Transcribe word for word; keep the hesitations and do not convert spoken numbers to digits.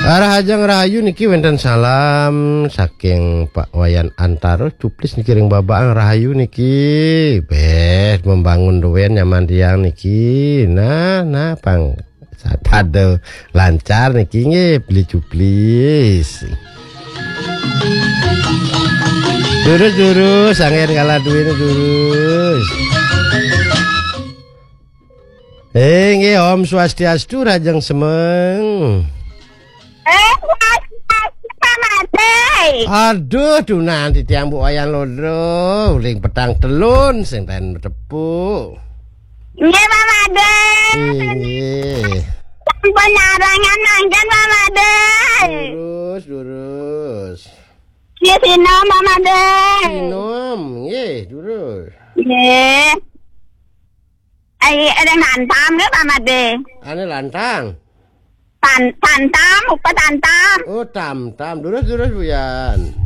Rahajeng rahayu niki wénten salam saking Pak Wayan Antaro Cuplis niki ring Babaang rahayu niki. Beh, membangun duwén nyaman tiang niki. Nah, nah pang pada lancar niki nggih beli Cuplis. Durus durus, angin kalah duwéné durus. Eh, nggih, Om Swastiastu, Rajeng Semeng. Eh, Swastiastu, Pak Made. Aduh, dunan titiang Bu Wayan Lodro, uling petang telun sing ten tepuk. Nggih, Pak Made. Inggih. Sampun nyarangan mangkin, Pak Made. Lurus, lurus. Nggih, sinom, Pak Made. Sinom, nggih, lurus. Nggih. Ai, ada ngantam nggih, Pak Made. Ane lantang. Tan tantam, upa tantam. Oh, tam-tam. Lurus, lurus, Buyan.